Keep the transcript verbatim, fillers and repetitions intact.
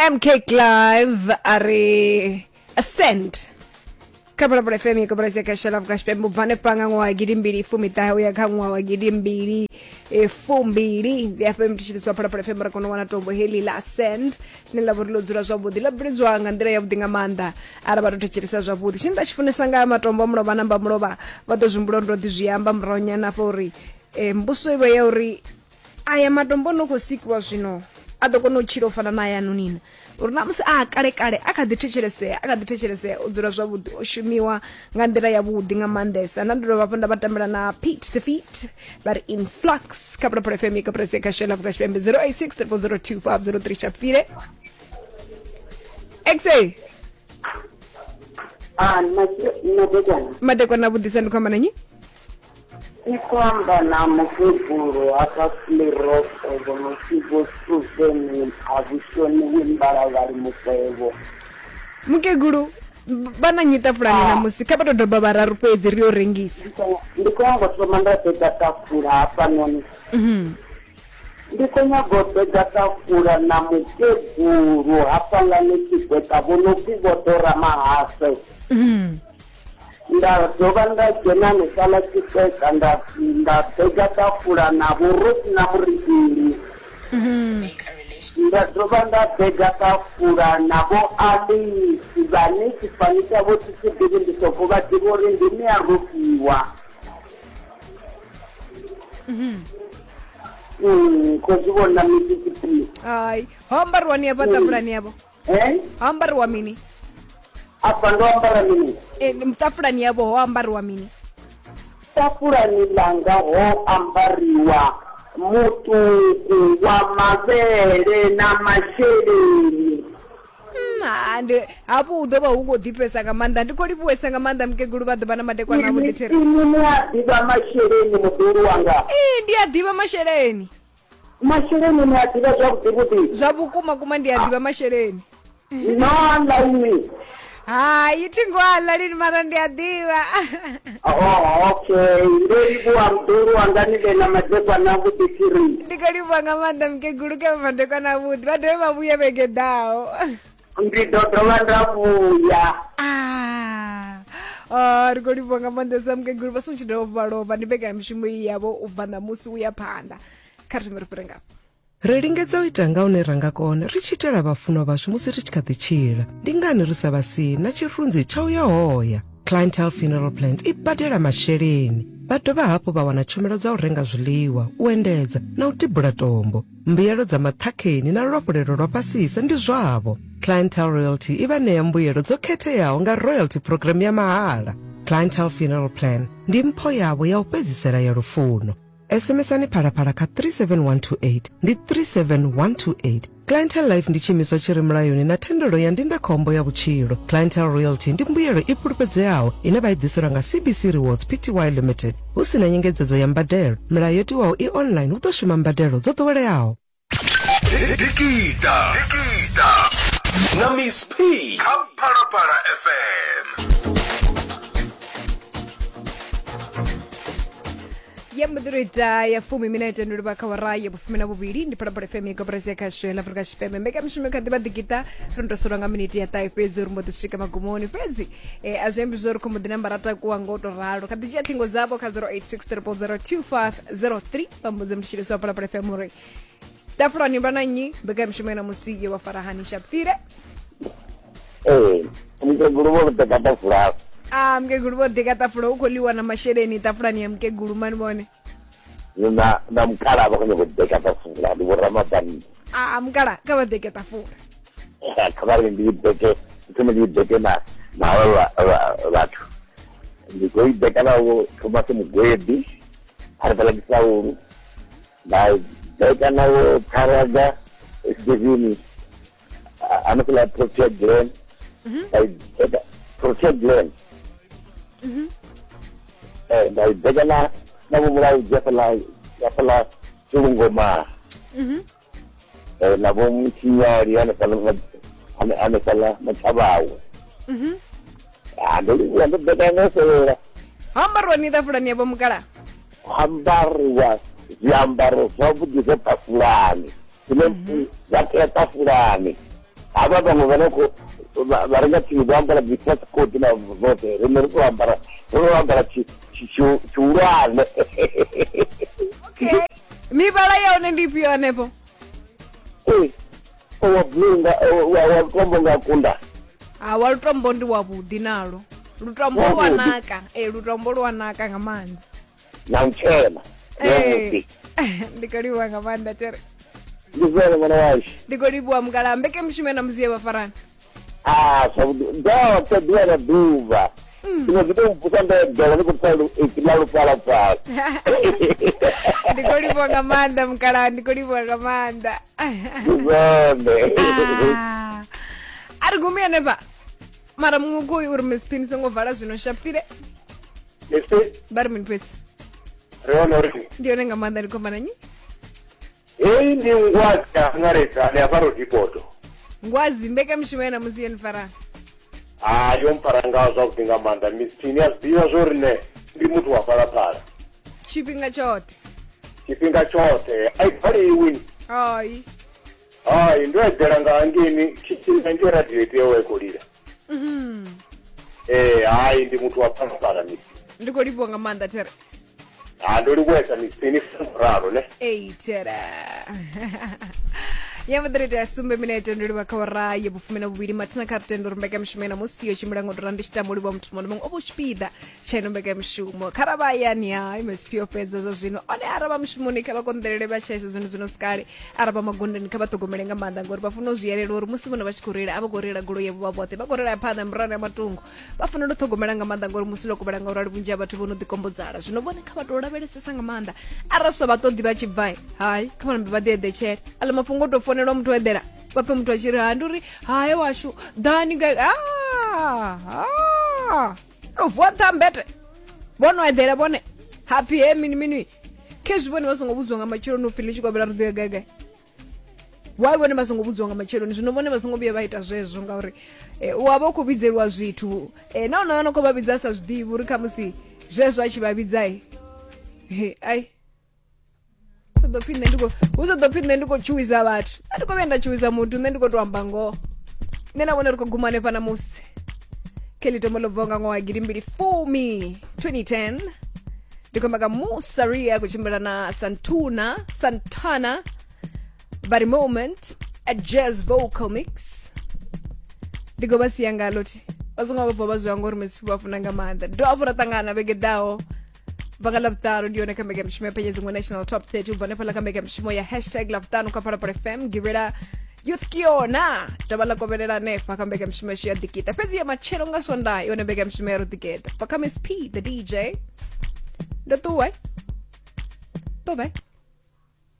M K Clive a ri Ascend kha Phalaphala F M ya koporasi ya Khasho ḽa Afrika Tshipembe ubva hanefha nga ṅwaha wa gidimbili fumiṱahe uya kha ṅwaha wa gidimbili fumbili. Ndi hafha mthetshelesi wa Phalaphala F M ra kona u wana tombo heḽi ḽa Ascend ḽine ḽa vha uri ḽo dzula zwavhuḓi, ḽa bveledzwa nga nḓila yavhuḓi nga maanḓa arali vha to thetshelesa zwavhuḓi. Tshine nda tshi funesa nga matombo a mulovha namba mulovha vha ḓo zwihumbula uri ndo ḓi zwi amba murahunyana hafha uri mbuso i vha ya uri aya matombo no khou sikiwa zwino a ḓo kona u tshila u fana na aya nonina, uri na musi a kale kale a kha ḓi thetshelesea, a kha ḓi thetshelesea, o dzula zwavhuḓi, o shumiwa nga nḓila yavhuḓi nga maanḓesa. Nda ndo dovha hafhu nda vha tambela na Pete Defeat vha ri Influx kha Phalaphala F M ya koporasi ya Khasho ḽa Afrika Tshipembe zero eight six triple zero two five zero three. Tshapfile X A Ah, madekwana. Madekwana vhuḓisa, ndi khou amba na nnyi? Ndi khou amba na mukegulu hafha Fleropo vho no pfi Vho Susan a vhushoniwi Mbalavhali Mukwevho. Mukegulu vha na nnyi ṱafulani namusi? Kha vha tou doba vhararu fhedzi ri yo rengisa. Ndi khou nyaga u thoma nda ḓedza ṱafula hafhanoni. Ndi khou nyaga u ḓedza ṱafula na mukegulu hafhaḽani Tshigweka vho no pfi Vho Dora Mahase. Nda dovha nda dzhena hanefhaḽa Tshigweka nda nda ḓedza ṱafula na Vho Rosina Muridili. Nda dovha nda ḓedza ṱafula na Vho Alice vhane tshifani tshavho thi tshi ḓivhi, ndi soko vha ḓivha uri ndi Mia Rofhiwa. Mm, khou zwi vhona Missus P. Hai, ho ambariwa ni afha ṱafulani yavho? Eh? Ho ambariwa mini? Afha ndo ambara mini? E, ṱafulani yavho ho ambariwa mini? Ṱafulani ḽanga ho ambariwa mutuku wa mavhele na masheleni. Mm, ndi hafhu hu ḓo vha hu khou ḓifhesa nga maanḓa. Ndi khou livhuwesa nga maanḓa mukegulu, vha ḓo vha na madekwana avhuḓi thiri. Inwi ni a ḓivha masheleni, muḓulu wanga? Ee, ndi a ḓivha masheleni. Masheleni ni a ḓivha zwavhuḓi vhuḓi? Zwa vhukuma kuma ndi a ḓivha masheleni. No aḽa inwi? Hai, thi ngo aḽa lini, mara ndi a ḓivha. Oh, okay, ndo livhuwa muḓulu wanga, ni vhe na madekwana avhuḓi thiri. Ndi khou livhuwa nga maanḓa mukegulu, kha vha madekwana avhuḓi, vha dovhe vha vhuye vhege ḓaho. Ndi ḓo dovha nda vhuya. Ah, oh, ri khou livhuwa nga maanḓesa mukegulu, vha songo tshi dovha vha lovha, ndi mbekanyamushumo iyi yavho u bva ṋamusi u ya phanḓa. Kha ri thome ri fhire ngafha. Ri lingedza u ita nga hune ra nga kona ri tshi itela vhafunwa vhashu musi ri tshi kha ḓi tshila. Ndi ngani ri sa vha sii na tshirunzi tsha u ya hoya? Clientele Funeral Plans i badela masheleni, vha dovha hafhu vha wana tshumelo dza u renga zwiḽiwa, u endedza na u tibula tombo. Mbuyelo dza maṱhakheni na luafhulelo lwa fhasisa ndi zwavho. Clientele Royalty i vha ṋea mbuyelo dzo khetheaho nga royalty program ya mahala. Clientele Funeral Plan ndi mpho yavho ya u fhedzisela ya lufuno. S M S-ani Phalaphala kha three seven one two eight, ndi three seven one two eight. Clientele Life ndi tshiimiswa tshi re mulayoni na thendelo ya ndindakhombo ya vhutshilo. Clientele Royalty ndi mbuyelo i fhulufhedzeaho ine vha i ḓiselwa nga C B C Rewards P T Y Limited hu si na nyengedzedzo ya mbadelo. Milayo yo tiwaho i online, hu ḓo shuma mbadelo dzo ḓoweleaho. Dikita Dikita na Miss P kha Phalaphala F M. Ya mbo ita ya fumi minete ndo livha kha wara ya vhufumi na vhuvhili. Ndi Phalaphala F M ya koporasi ya Khasho ya Afrika Tshipembe. Mbekanyamushumo kha ḓivha ḓikita ro ndo solwa nga miniti ya ṱahe fhedzi uri mbo ḓi swika magumoni, fhedzi eh, a zwi ambi zwo ri khou mbo ḓi namba ra takuwa ngo to ralo. Kha ḓi dzhia ṱhingo dzavho kha zero eight six triple zero two five zero three, vha mbudze mthetshelesi wa Phalaphala F M uri ṱafulani vha na nnyi, mbekanyamushumo ya ṋamusi yo vha fara hani. Shapfile. Ee, mukegulu vho ḓeka ṱafula. Ah, mukegulu vho ḓika ṱafula, hu khou ḽiwa na masheleni ṱafulani ya mukegulu mani vhone. Na na mukala vha khou nyaga u ḓeka ṱafula, ndi vho Ramabanna. Ah, mukala kha vha ḓeke ṱafula. Kha vha ri ndi ḓeke, thome ndi ḓeke na na havha vhathu. Ndi khou i ḓeka na vho Thomas Mugwebi hanefhaḽa Kisaulu, nda ḓeka na vho Pharaga Steveni hanefhaḽa Protea Glen, nda i ḓeka Protea Glen. Eh, nda i ḓeka na na vho Mulaudzi hafhaḽa hafhaḽa Tshilungoma. Eh, na vho Mutshinyali hanefhaḽa hanefhaḽa Matshavhawe. Ah, ndo livhuwa, ndo ḓeka nga fhelela. Ho ambariwa ni ṱafulani yavho mukala? Ho ambariwa zwiambaro zwavhuḓi zwa ṱafulani zwine zwa tea ṱafulani. Havha vhaṅwe vha no khou vha renga tsini vho ambara dzi passport na zwoṱhe, riṋe ri tou ambara ri tou ambara tshihulwane. Okay, mivhala ya hone ndi ifhio hanefho? Ee, wa blue nga wa lutombo nga kunda. Ha, wa lutombo ndi wavhuḓi nalo. Lutombo lwa naka, ee, lutombo lwa naka nga maanḓa. Na mutshena. Ee, ndi khou livhuwa nga maanḓa tere. Ndi zwone ṅwana washu. Ndi khou livhuwa mukala, mbeke mushumo na musi ye vha farana. Ah, zwavhuḓi, ndo ḓuvha na ḓuvha. Zwino zwi tou mvusa ndo eḓela ndi khou pfa ipfi ḽa lufhalafhala. Ndi khou livhuwa nga maanḓa mukala, ndi khou livhuwa nga maanḓa. Ndi zwone. A ri gumi hanefha. Mara muṅwe khoyu uri Miss P ni songo vala zwino shapfile. Miss P? Vha ri mini fhedzi? Ri hone uri. Ndi hone nga maanḓa, ndi khou amba na nnyi? Heyi ndi ngwazi ya angaredza ni hafha Rodipoto. Ngwazi, mbekanyamushumo ya ṋamusi yo ni fara? Ha, yo mpfara nga zwavhuḓi nga maanḓa. Miss P ni a zwi ḓivha zwo ri nṋe ndi muthu wa phalaphala. Tshifhinga tshoṱhe? Tshifhinga tshoṱhe, a i valiwi. Hai. Hai, ndo eḓela nga hangeini khitshini ngei radio i tea u i khou lila. Mhm. Eh, hai, ndi muthu wa phalaphala Miss P. Ndi khou livhuwa nga maanḓa tere. Ha, ndo livhuwesa Miss P, ni ralo ne. Ei tere. Ya vhuḓirete ya sumbe minete ndo livha kha ora ya vhufumi na vhuvhili mathina kha rutendo uri mbekanyamushumo ya ṋamusi yo tshimbila ngo tou ralo. Ndi tshi tama u livhuwa muthu muṅwe na muṅwe o vha u tshipiḓa tsha ino mbekanyamushumo. Kha ra vha hayani ha M S P yo fhedza zwa zwino, one araba mushumoni kha vha konḓelele vha tshaisa zwino zwino sikale, araba magondoni kha vha ṱhogomele nga maanḓa ngori vha funa u zwi yelela uri musi vhone vha tshi khou reila a vha khou reila goloi yavho vha vhoṱhe, vha khou reila phanḓa murahu ya matungo. Vha fanela u ṱhogomela nga maanḓa ngori musi ḽo kovhela nga urali vhunzhi ha vhathu vho no ḓi kombodzala. Zwino vhone kha vha tou lavhelesesa nga maanḓa, arali sa vha ṱoḓi vha tshi bva hai kha vha nambe vha ḓi eḓetshele. Aḽa mafhungo o tou fonelwa muthu eḓela vha pfe muthu a tshi ri ha ndi uri hae washu ḓani gai, ah o vuwa nṱha mbete vho no eḓela vhone hapfi he mini mini khezwi vhone vha songo vhudziwa nga matsheloni upfhi ḽi tshi kovhela ri ḓo ya gai gai. Why vhone vha songo vhudziwa nga matsheloni? Zwino vhone vha songo vhuya vha ita zwezwo ngauri u wa vha u khou vhidzeliwa zwithu na onoyo no khou vha vhidza a sa zwi ḓivhi uri khamusi zwezwo a tshi vha vhidzai ai ḓo pfi nṋe ndi khou hu sa ḓo pfi nṋe ndi khou tshuwisa vhathu. A thi khou vhuya nda tshuwisa muthu, nṋe ndi khou tou amba ngoho. Nṋe na vhone ri khou guma hanefha ṋamusi. Kelly Tombo ḽo bvaho nga ṅwaha wa gidimbili fumi twenty ten. Ndi khou amba nga Musa Ria khou tshimbila na Santuna Santana Body Moment a jazz vocal mix. Ndi khou vha sia ngalo thi vha songo vha bva vha zwi hangwa uri Miss P vha funa nga maanḓa. Do hafhu ra ṱangana vhege ḓaho vanga ḽavhuṱanu, ndi yone kha mbekanyamushumo ya Phenyedziṅwe National Top thirty u bva hanefhaḽa kha mbekanyamushumo ya hashtag ḽavhuṱanu kha Phalaphala F M. Givhela Youth ke yona taba ḽa kovhelela hanefha kha mbekanyamushumo yashu ya ḓikiṱa. Fhedzi ya matshelo nga Swondaha yone mbekanyamushumo ya ro ḓigeḓa. Bva kha Miss P the D J. Ndo ṱuwa. Bye bye.